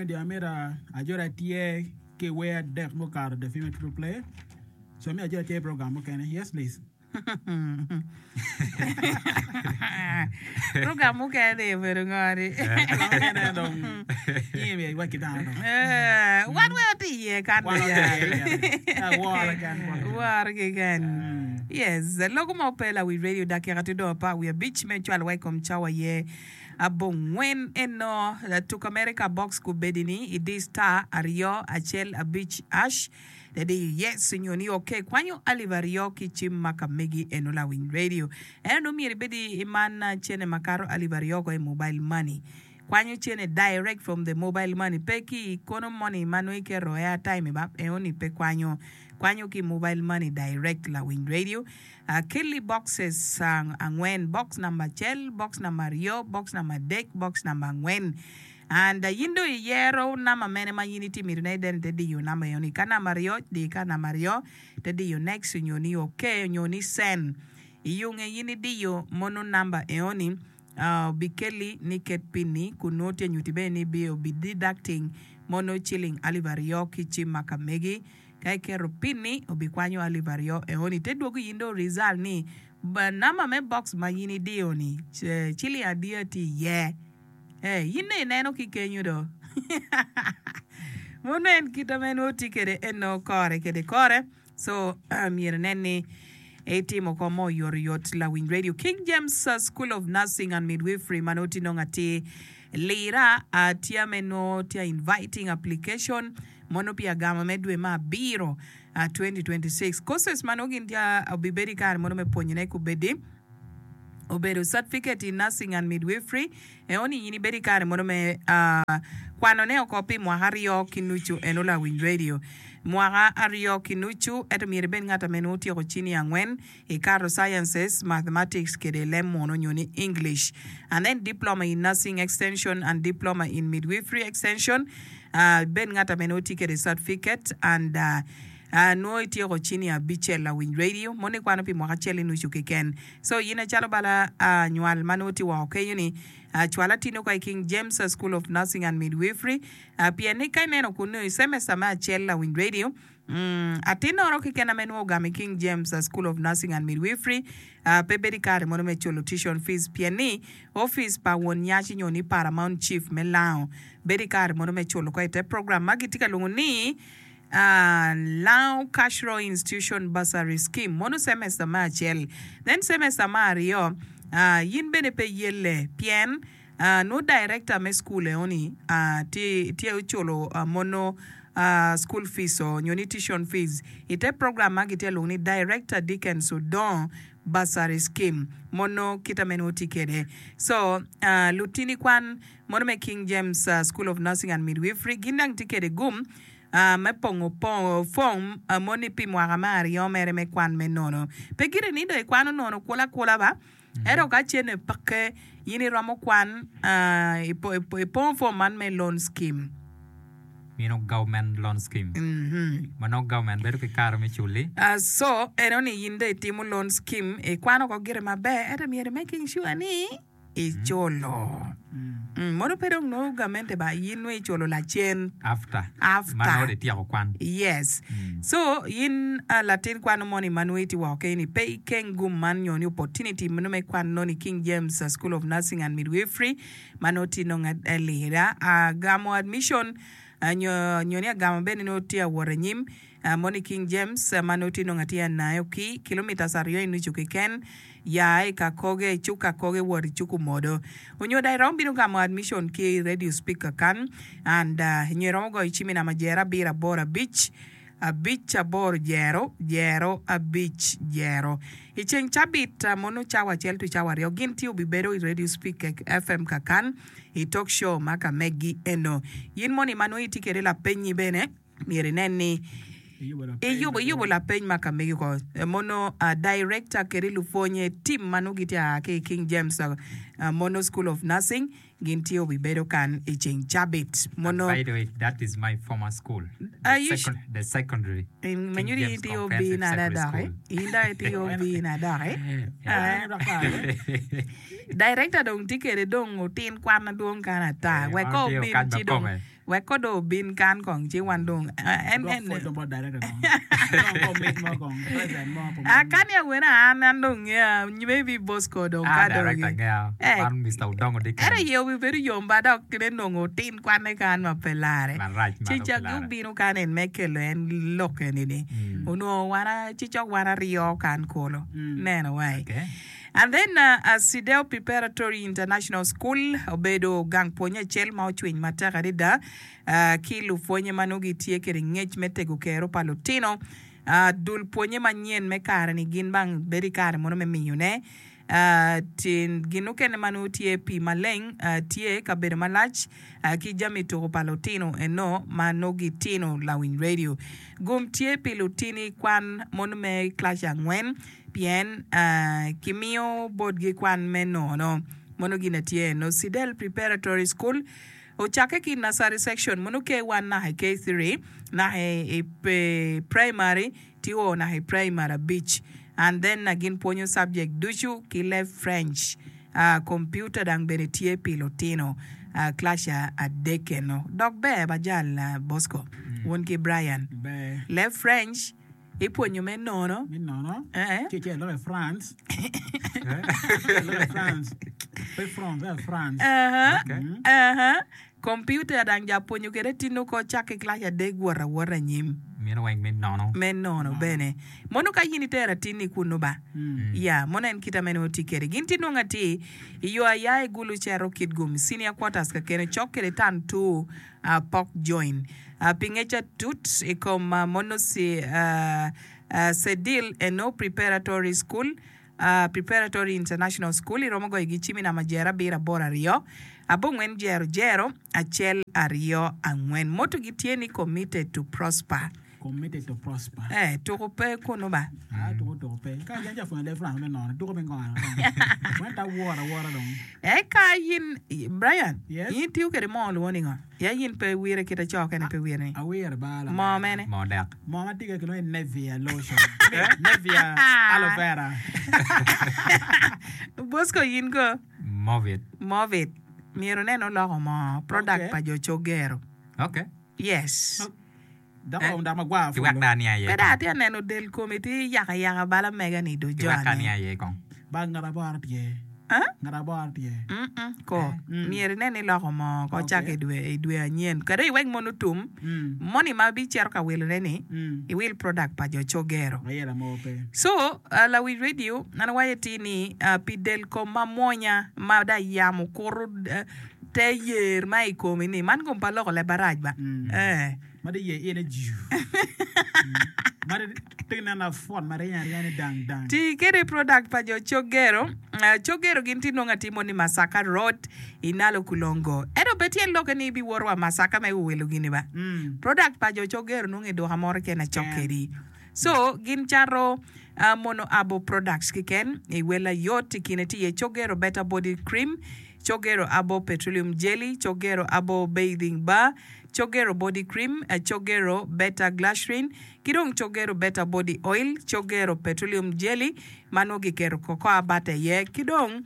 Media amito ajoli atye ki wer adek mukato The Female Triple Play so amito ajoli atye i program mukene. Yes please. Program mukene ni obedo ngo ni? Program mukene dong in myero iwac ki dano dong. Eh, wan weng watye iye kan Wan watye iye keken. Woro keken. Woro keken. Yes, logo ma ope lawic radio dakika tye dong apar wiye abic me cwalo wa i kom cawa aye abongwen eno tuk America box kubedi ni idi star aryo acel abic ash Dadi yes nyo ni ok kwanyo alip aryo ki cim ma ka megi eno lawiny radio eno dong myero ibed i man cene makato alip aryo ko i mobile money kwanyo cene direct from the mobile money pe ki i kono money ma nongo iketo airtime ba eno ni pe kwanyo kwanyo ki i mobile money direct lawiny radio kelli boxes angwen box namba acel box namba aryo box namba adek box namba angwen And in dong iyero namba mene ma in itye mitone then ite diyo namba eno ni. Ka namba aryo, di ka namba aryo ite diyo next onyo ni ok onyo ni send. Iyunge in idiyo mono namba eno ni obikeli ni ket pin ni kun nongo tye nyuti bene ni obi deducting mono ciling alip aryo ki cim ma ka megi. Ka iketo pin ni obikwanyo alip aryo eno ni te dwogo in dong result ni namba me box ma in idiyo ni ciling adiya tye iye. Ee, in dong ineno ki kenyo do. Mono en kit ma en tye kwede eno kore kede kore. So, myero inen ni itimo ko mo oyotoyot lawiny radio. King James School of Nursing and Midwifery ma nongo tye nongo atir lira tye me nongo tye inviting application mono pi agama me dwe me abiro 2026. Courses ma nongo gin tye obibedo i kare mono me pwonyone kubedi. obedo Certificate in Nursing and Midwifery, eno ni in ibedo i kare mono me kwano ne oko pi mwaka aryo ki nucu eno lawiny radio. Mwaka aryo ki nucu ento myero ibed ngat ame nongo otyeko cini angwen ikato Sciences, Mathematics kede leb munu nyo ni English and then Diploma in Nursing Extension and Diploma in Midwifery Extension ibed ngat ame nongo tye kede Certificate and Nwo ityeko cinia abicel lawiny radio mono ikwano pi mwaka acel ki nucu keken. So in acalo bala nywal ma nongo tye woko kenyo ni cwal atino ka i King James School of Nursing and Midwifery pien ni ka ineno kunu i semester me acel lawiny radio atinoro keken ame nongo ogamo i King James School of Nursing and Midwifery pe bedo i kare mono me culo tuition fees pien ni office pa won nyaci nyo ni Paramount Chief me Lango bedo i kare mono me culo ko ite program ma gitye ka lwongo ni Lango Cultural Institution Bursary Scheme mono semester me acel then semester me aryo in bene pe iyelle pien nongo director me school eno ni tye oculo mono school fees o nyo ni tuition fees ite program ma gitye ka lwongo ni Director Dickens Odongo Bursary Scheme mono kita me nongo tye kwede so lutini kwan Mono me King James School of Nursing and Midwifery gin dang tye kede gum me pongo fom moni pi mwaka me aryo mere me kwan me nono. Pe gire ni dong ikwano nono kula akula ba, ento ka cene peke in iromo kwan ipongo fom man me loan scheme. Mino government loan scheme. Ma nongo government bedo ki kare me culi. So eno ni in dong itimo loan scheme ikwano ko gire maber ento myero i making sure ni iculo. Mono pe dong nongo gamente ba in nongo iculo lacen. After. After. Ma nongo dong ityeko kwan. Yes. So in latin kwan moni ma nongo itye woko keni pe ikeng gum man nyo ni opportunity meno me kwan nongo i King James School of Nursing and Midwifery ma nongo tye nongo alira. Gamo admission nyo ni agamo bene nongo tye awot anyim. Moni King James ma nongo tye nongo atye anayo ki kilometres aryo i nucu keken ya i Kakoge i cuk Kakoge wot i cuk Omodo. Onyo dong iromo bino gamo admission ki i radio speaker kan and nyo iromo goyo cim i namba jero abiro aboro abic abic aboro jero jero abic jero. I ceng cabit mono cawa acel to cawa aryo gin tye obibedo i radio speaker FM kakan i talk show ma ka megi eno. In moni ma nongo itye kede lapenyi bene Myero inen ni iyubo lapeny ma ka megi oko. Mono director kede lupwonye team ma nongo gitye aa ki i King James Mono School of Nursing gin tye obibedo kan i ceng cabit. Mono By the way, that is my former school. Are The, you second, the secondary. Ma King nyuto in James itye Comprehensive obina Secondary doki. School. In dok itye obina doki. Yeah. Director dong tye kede dong otin kwan madwong kany ata. Eh, Wek man ko tye obin okany ci dong makome. Wek ko dong obin kan kong ci wan dong en Dwok en pwoc dong bot director kong. Dong ko mic mo kong, present mo pi Ah, mon. kani awene an an dong ngeya maybe Bosco dong Ah, ka dong director ngeya. Eh, Man Mister Odongo ento Dickens. iye obibedo yom ba dok ne nongo otin kwanne kan ma pe lare. Marac ma Ci dong pe cok lare. obino kan en me kelo en lok eni-ni. Onongo wan a- ci cok wan aryo kan kulu. Neno wai. Okay. And then Sideo Preparatory International School obedo gang pwonye acel ma ocwiny matek adada ki lupwonye ma nongo gitye kwede ngec me tego kero pa lutino. Dul pwonye manyen me kare-ni gin bang bedo i kare mono me miyone gin mukene ma nongo tye pii maleng tye kabedo malac ki jami tuko pa lutino eno ma nongo gitino lawiny radio. Gum tye pi lutini kwan mono me kilaci angwen. Pien kimiyo botgi kwan me nono. Mono gin atye eno, Sidel Preparatory School ocakke ki i Nursery Section mono K1 naka i K3 naka i Primary ti o naka i Primary abic and then gin pwonyo subject ducu ki leb French. Computer dang bene tye pi lutino class adek eno. Dok ber ba jal Bosco wun ki Brian. Leb French Ipwonyo me nono. Me nono. Eh. Ci icito i France. Icito i France. Pe France, eh, France. Aha, Okay. aha. Kompiuta dang ja pwonyo kwede tino ko cakke i kilaci adek wot awota anyim. Meno weng me nono. Me nono bene. Mono ka in itero atinni kunnu ba? Ya, mono en kite mene oti kwede. Gin tye nongo atir i yo aya i Gulu cito Kitgum, Senior Quarters kakene cok kwede Tan Two Pok Join. Pi ngec atut i kom mono Cedil eno Preparatory School, Preparatory International School, iromo goyo gi cim i namba jero abiro aboro aryo abongwen jero jero acel aryo angwen. Motto gi tye ni Committed to Prosper. Committed to prosper. Eh, tuko pe kunu ba. Ah, tuko tuko pe. Ka jan ca pwonyo leb France me nono, tuko me ngono. Went awora awora dong. Eka in, Brian, Yes. in itiyo kwede moo luwo ningo? Ya in pe iwire kit aco kene pe iwire ni. Awire ba la. Moo mene? Moo dek. Moo ma tye ka kilwongo ni Nevia lotion. Nevia aloe vera. Bosco in ko? Movit. Movit. Myero inen oloko moo, product Okay. pa jo Cogero. Okay. Yes. Dok oromo dako magwar Ki wek pulu. dong aniang iye Pe dong kong. atye ka neno del komi tye yako ayaka bal amega-ni do Ki wek jone. aniang iye kong. Ba ngat aboro tye. Ah? Ngat aboro tye. Mm-mm, ko. Mm. Myero inen ni iloko moo ko Okay. cako i dwe i dwe anyen. Kadi iwek mono otum, Mm. moni ma ibicito ka wilone-ni, Mm. iwil product pa jo Cogero. Ayela mo pe. So, uh, lawic radio, an awaco atir ni, uh, pi del kom mamwonya ma dong yamo kuto uh, te yer ma i komi-ni, man kom pe aloko leb marac ba? Mm. Eh. Ma di ye ine jiu. Ma di tye neno apwot ma ryeny aryenya ni dang dang. Ti kede product pa jo Cogero. Cogero gin tye nongo atimo ni Masaka Road i Nalo Kulongo. Ento pe tyen lokke ni ibiwoto wa Masaka me wilo gini ba. Product pa jo Cogero nongo i duka moro keken acok kedi. So gin cato mono abo products keken i wel ayot i kine tye iye Cogero Better Body Cream, Cogero Abo Petroleum Jelly, Cogero Abo Bathing Bar, Cogero Body Cream, Cogero Better Glycerin, ki dong Cogero Better Body Oil, Cogero Petroleum Jelly ma nongo giketo cocoa butter iye, ki dong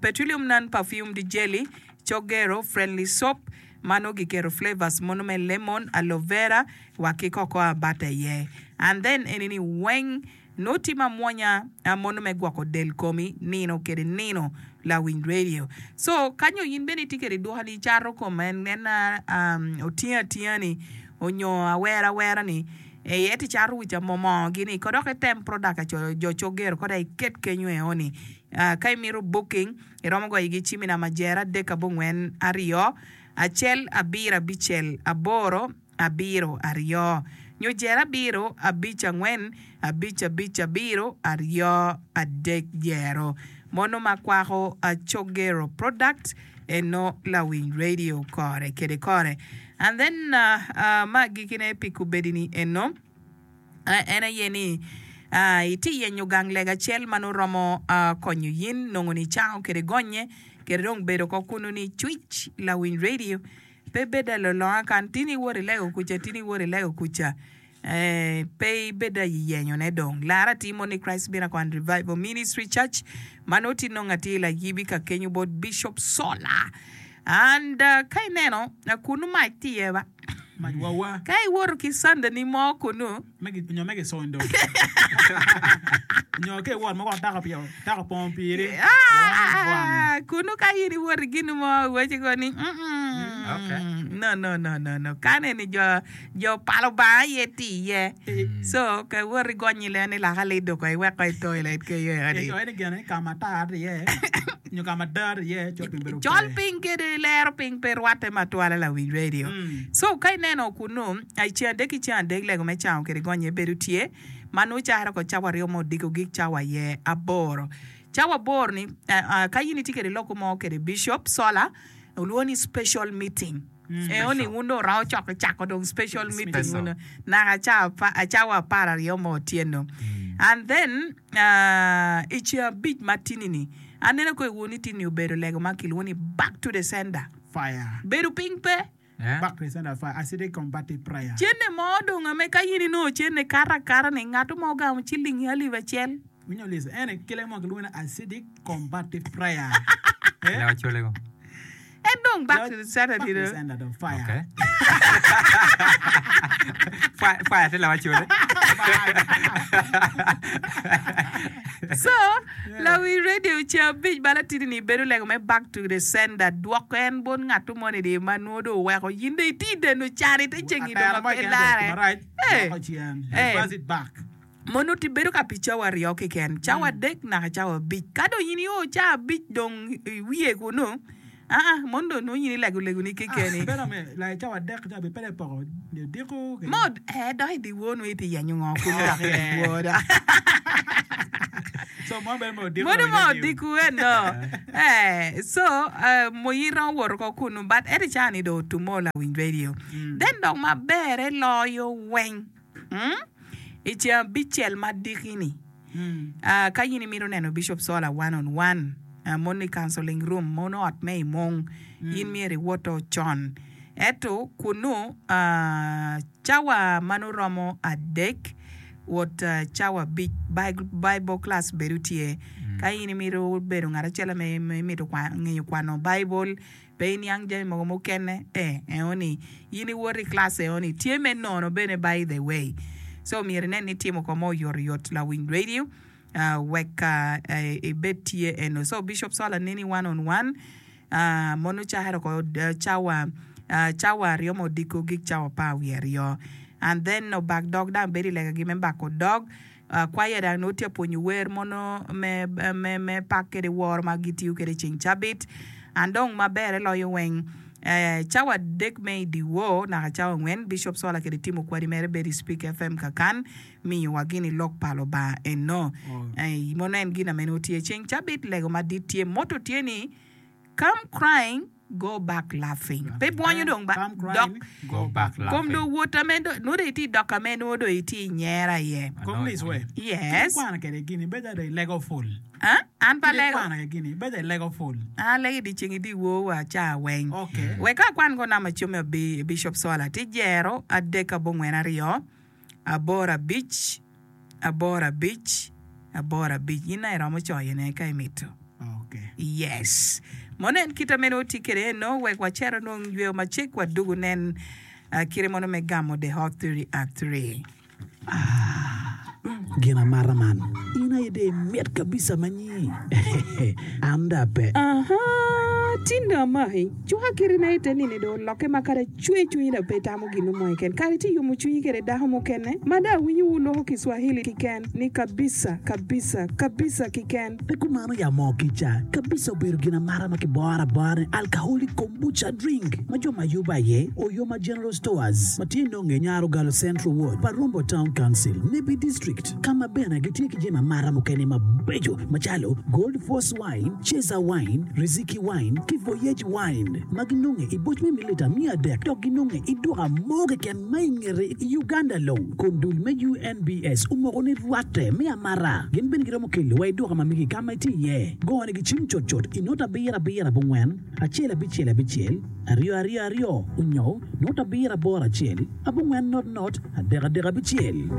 Petroleum Non-Perfumed Jelly, Cogero Friendly Soap ma nongo giketo flavors mono me lemon, aloe vera wa ki cocoa butter iye. And then eni-ni weng Nongo tye ma mwonya mono me gwoko del komi nino kede nino lawiny radio. So ka nyo in bene itye kede duka ni icato kom en otinga atinga ni onyo awera awera ni ento icato wica moo moo gini ko dok item product pa jo cogero ko dok iket kenyo eo ni ka imito booking iromo goyo gi cim i namba jero adek abongwen aryo acel abiro abicel aboro abiro aryo, nyo jer abiro abic angwen abic abic abiro aryo adek jero. Mono ma kwako Cogero product eno lawiny radio kore kede kore. And then ma agikine pi kubedi ni eno en aye ni itye yenyo gang lega acel ma nongo romo konyo yin nongo ni cango kede gonye kede dong bedo ko kunu ni cwic lawiny radio Pe ibed alolonga kan tin iwot ilego kuca, tin iwot ilego kuca. Eh, pe ibed ayenyone dong. Lar atir mo ni Christ Miracle and Revival Ministry Church ma nongo tye nongo atir i Layibi ka kenyo bot Bishop Sola. And ka ineno kunu mac tye iye ba. Mac wawa. Ka iwoto ki candani mo kunu. Me gi nyo me gicondo. Nyo ka iwot ma gwok tako pi tako opongo piri. Ah, kunu ka in iwoto i gin mo iwaci ko ni mm Okay. no no no no no kan eni jo jo pa Lubanga aye tye iye. So ka iwoto igonyo ilen ni laka lido ko iwek ko i toilet kenyo eni. Icoyo ni gene ka ma tar tye iye nyo ka ma dar tye iye col piny bedo Col pe. piny kede lero piny pe rwatte matwala lawiny radio. So ka ineno kunu i ceng adek ki ceng adek lego me cango kede gonye bedo tye ma nongo caro ko cawa aryo me odiko gik cawa aye aboro. Cawa aboro ni ka in itye kede loko mo kede bishop sola olwongo ni special meeting. Eo ni wun dong wuromo coko cako dong special meeting Special. wunu naka ca cawa apararyo me otyeno. And then i ceng abic ma tini-ni, aneno ko iwu ni tini obedo lego ma kilwongo ni back to the sender. Fire. Bedo piny pe. Eh? Back to the sender fire. Acidic combative prayer. Cente mo dong ame ka in inongo cente kato akata-ni, ngato mo ogamo cilingi alip acel. Winyo Lisa, ene kile mo kilwongo ni acidic combative prayer. Eh? Lego colego. En dong back to the sender Back to the tino. sender dong fire. Okay. Fire, fire te lawa cole. So, lawi radio ceng abic bala tidi ni bedo lego me back to the sender dwoko en bot ngatto moni di ma nwo dong oweko yin dong iti deno can ite cengi dong Atera mo pe keken lare. marac, Eh. dwoko cen. Eh. Reverse it back. Mono ti bedo ka pi cawa aryo keken, cawa adek naka cawa abic. Ka dong in io cawa abic dong iwiye kunu, aa, mono dong nongo in ilego legoni kekeni. Bedo me like cawa adek cawa abic pe dong ipoko odiko kede. Mo, ee, dok i dyewor nongo itye yenyo ngo kunu dok i dyewor dok. So mono bedo me odiko Mono dong mo i radio. odiko eno. Eh, so, eh, mo in romo woto ko kunu, but ento i cawa ni dong otumo lawiny radio. Then dok maberre loyo weng. I ceng abicel ma diki-ni, ka in imito neno Bishop Sola one on one, mono i counseling room, mono ot me i mung, in myero iwoto con. Ento kunnu, cawa ma nongo romo adek wot cawa abic, Bible class bedo tye. Ka in imito bedo ngat acel ma imito ngeyo kwano Baibul, Pe iniang jami mogo mukene ee eo ni in iwoto i class eo ni tye me nono bene by the way so myero inen ni itimo ko mo oyot oyot lawiny radio wek ibed tye eno so Bishop Sola neni one on one mono cakere oko cawa cawa aryo ma odiko gik cawa apar wiye aryo and then obak dog dang bedo i lega gi me bako dog Kwaya dang nongo tye ka pwonyo wer mono me me pak kede woro ma gitiyo kede ceng cabit. And dong maberre loyo weng, cawa adek me i dyewor naka cawa angwen, Bishop Sola kede Timo Kwadi mere bedo i Speak FM kakan miyo wa gini lok pa Lubanga eno. Mono en gin ame nongo tye ceng cabit, lego madit tye, motto tye ni Come crying Go back laughing. Pe bwonyo dong ba Come dok crying, Go back kom laughing. dong wot ame do nongo dong itye dok ame nongo dong itye i nyera iye. Kom lic we. Yes. Kit ikwano kede gini bedo ada ilego ful. Ah, an pe Kit alego. ikwano kede gini bedo ilego ful. An alego i dyeceng i dyewor wa ca weng. Okay. Wek ka akwan ko namba cim me Bi- Bishop Sola tye jero adek abongwen aryo aboro abic aboro abic aboro abic in aye iromo coyone ka imito. Okay. Yes. Mono en kite meno watye kwede eno wek wacer onong yweyo macek wadugu nen uh, kite mono me gamo the hot 30 at 3. Gin amata man, in aye dong imit kabisa manyi. An dong ape. Ahaa, tin dong amaki. Cuka kirina ite nini dong olokke ma kadi acwe cwinyi dong pe itamo gin mo keken. Kadi itye yomo cwinyi kede dako mukene ma dong awinyo wu loko Kiswahili kiken ni kabisa, kabisa, kabisa kiken. Pe kumano ya moo kica kabisa obedo gin amata ma kiboro abora ni alcoholic kombucha drink ma jo ma yubo aye Oyoma General Stores ma tye nonge Nyarogalo Central Ward, Parombo Town Council, Nebbi District ka ma bene gitye ki jami amata mukene mabeco macalo Gold Force Wine, Ceza Wine, Riziki Wine ki Voyage Wine ma ginonge i boc me mililita 300 dok ginonge i duka mo keken ma i ngete i Uganda long kun dul me UNBS omoko ni rwatte me amata. Gin bene giromo kelo wa i duka ma megi ka ma itye iye. Gone gi cim cutcut i nota abiro abiro abongwen, acel abicel abicel, aryo aryo aryo onyo nota abiro aboro acel, abongwen not not, adek adek abicel.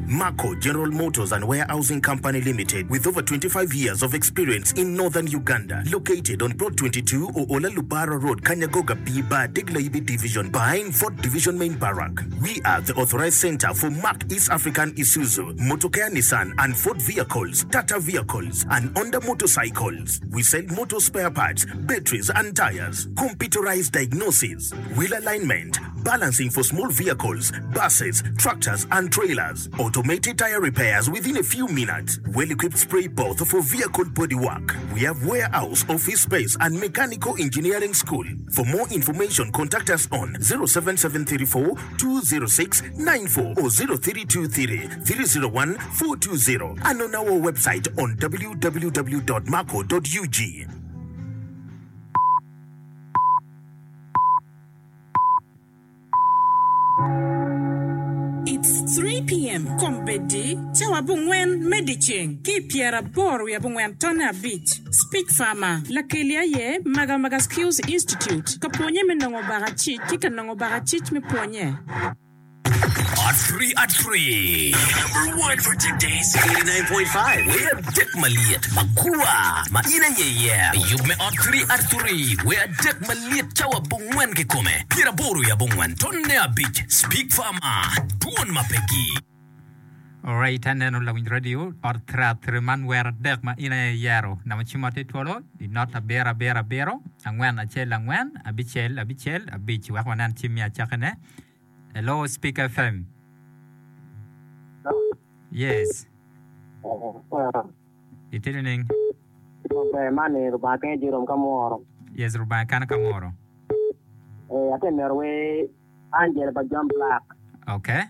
Marco General Motors and Warehousing Company Limited with over 25 years of experience in Northern Uganda located on Plot 22 Oola Lubara Road Kanyagoga B-Bar Deg Layibi Division behind Fort Division Main Barrack. We are the authorized center for Mack East African Isuzu, Motokea Nissan and Ford vehicles, Tata vehicles and Honda motorcycles. We sell motor spare parts, batteries and tires, computerized diagnosis, wheel alignment, balancing for small vehicles, buses, tractors and trailers, automated tire repairs within a few minutes, well-equipped spray booth for vehicle body work. We have warehouse, office space and mechanical engineering school. For more information contact us on 07734 206 94 or 0323 301 420 and on our website on www.marco.ug. It's 3 PM, Kombeddi, cawa abongwen me dyeceng ki i pyeraboro wiye abongwen tonne abic. Speech Farmer, Lakeli aye Maga Maga Skills Institute, ka pwonye me nongo bakacic ki ka nongo bakacic me pwonye. Ot Free At Free. Number one for today's 89.5 Wer adek malyet magwar ma in aye iyero. Yub me Ot Free At Free Wer adek malyet cawa abongwen kikome pyeraboro i abongwen tonne abic Speak Farmer Dwon ma pegi. Alright, aneno lawiny radio ot theatre man wer adek ma in aye iyero. Namba cim ot itwolo i not abiro abiro abiro angwen acel angwen abicel abicel abic wek wanen cim me acakine. Hello Speak FM. Yes. Itye nining? Maber man ni Rubanga kene Jerome ka mworo. Yes, Rubanga kene ka mworo. Eh, ate mero we Angela pa John Black. Okay.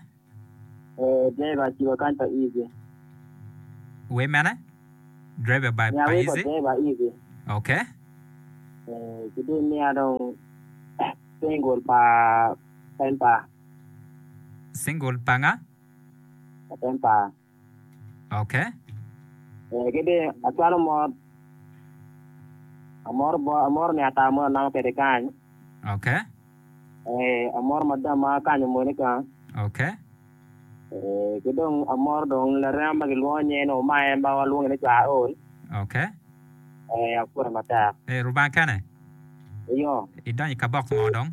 Eh, driver cibo kany pa Easy. We mene? Driver by Nya pa we pa Easy. driver Easy. Okay. Eh, kidi miya dong single pa Tempa. Single pa nga? Pa Tempa. Okay. Eh, kidi acwalo mot amoro bo amoro ni ata mo anamo kede kany. Okay. Eh, amoro madam ma akanyo Monica. Okay. Eh, ki dong amoro dong larema ma gilwongo nyinge ni Omae ma walwonge ni Cwar Ol. Okay. Eh, apwote matek. Eh, Rubanga kene? Iyo. Idonyo i kabok ngo dong?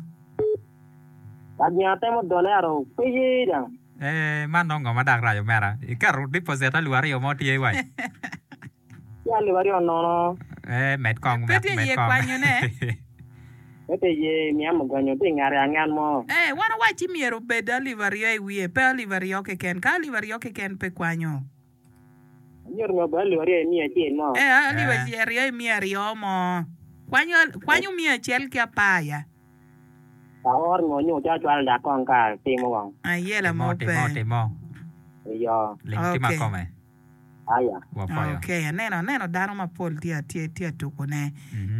Ka gin atemo done aro pe ye dang. Eh, man dong ngo ma dak rac omera? Iketo deposit alip aryo mo tye wai. Ci alip aryo nono. Eh, med kong, Pe med, tye med iye kong. kwanyone. Pe tye iye miya mugonyo tye i ngate angen mo. Eh, wan owacci myero obed alip aryo i wiye, pe alip aryo keken. Ka alip aryo keken pe kwanyo. Myero myero obed alip aryo i miya acel mo. Eh, alip Eh. aryo i miya aryo mo. Kwanyo, kwanyo miya acel ki apar ya. Aor nyo nyo calo cwalo dok kong ka timo kong. Ayela Timo, mo timo, pe. timo. Iyo. Ling timo Okay. akome. Aya. Wapwoyo. Okay, aneno, aneno dano mapol tye tye tye tuko ne.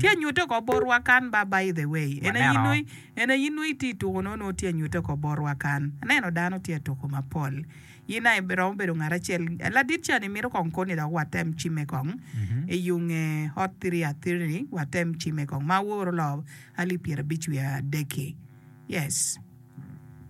Tye nyute oko botwa kan ba by the way. En aye Waneno. nongo en aye nongo itye tuko no nongo tye nyute oko botwa kan. Aneno dano tye tuko mapol. In aye romo bedo ngat acel. Ladit ca ni mito kong koni dok watem cime kong. I yunge hot thiri athiri ni watem cime kong ma aworo lo alip pyerabic wiye adek-ki. Yes.